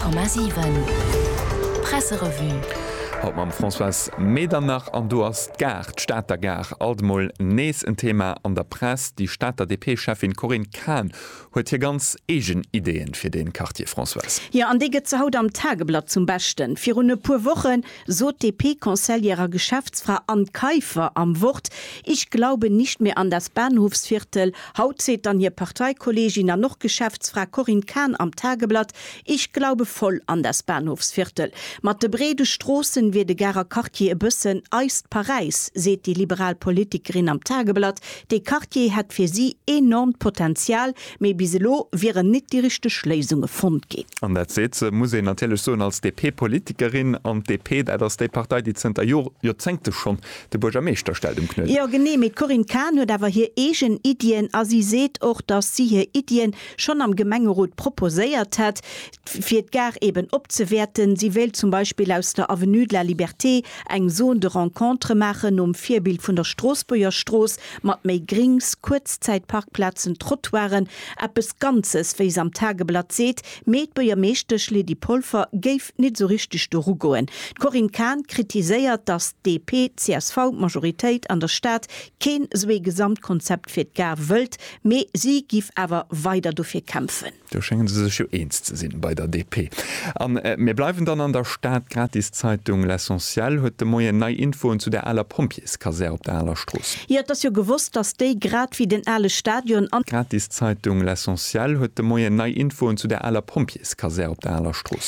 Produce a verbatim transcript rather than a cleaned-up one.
Komma siwen Presserevue. Haut mam Françoise Medernach an do ass d'Gare, d'Stater Gare, alt emol nees en Thema an der Press. Déi Stater D P-Schäffin Corinne Cahen huet hir ganz eegen Ideeën fir de Quartier, Françoise. Jo, an déi gëtt se haut am Tageblatt zum Beschten. Virun e puer Woche sot d'D P-Conseillère a Geschäftsfra Anne Kaiffer am Wort: „Ich glaube nicht mehr an das Bahnhofsviertel.“ Haut seet dann hir Parteikolleegin an och Geschäftsfra Corinne Cahen am Tageblatt: „Ich glaube voll an das Bahnhofsviertel.“ Mat de breede Stroossen wier de Garer Quartier e bëssen eist Paräis, seet déi liberal Politikerin am Tageblatt. De Quartier hätt fir si enormt Potenzial, mee bis elo wieren net déi richteg Léisunge fonnt ginn. An dat seet se, muss een natierlech soen, als D P-Politikerin an D P, dat ass déi Partei, déi zënter Joer, Joerzéngte schonn de Buergermeeschter stellt um Knuedler. Jo, genee, mee d'Corinne Cahen huet awer hir eegen Iddien a si seet och, datt si hir Iddien schonn am Gemengerot proposéiert hätt, fir d'Gare eben opzewäerten. Si wéilt zum Beispill aus der Avenue de la Liberté eng Zone de rencontre maachen, nom Virbild vun der Stroossbuerger Strooss, mat méi Grings, Kuerzzäitparkplazen, Trottoiren, eppes Ganzes, wéi se am Tageblatt seet, mee d'Buergermeeschtesch Lydie Polfer géif net sou richteg doru goen. D'Corinne Cahen kritiséiert, datt d'D P C S V-Majoritéit an der Stad keen sou ee Gesamtkonzept fir d'Gare wëllt, mee si géif awer weider dofir kämpfen. Do schéngen se sech jo eens ze sinn bei der D P. An äh, mir bleiwen dann an der Stad. D'Gratiszeitung L'Essentiel huet de Moien nei Infoen zu der aler Pompjeeskasär op der Aler Strooss. Jo, et ass jo gewosst, datt déi grad wéi den ale Stadion an Gratiszeitung L'Essentiel huet de Moien nei Infoen zu der aler Pompjeeskasär op der Aler Strooss.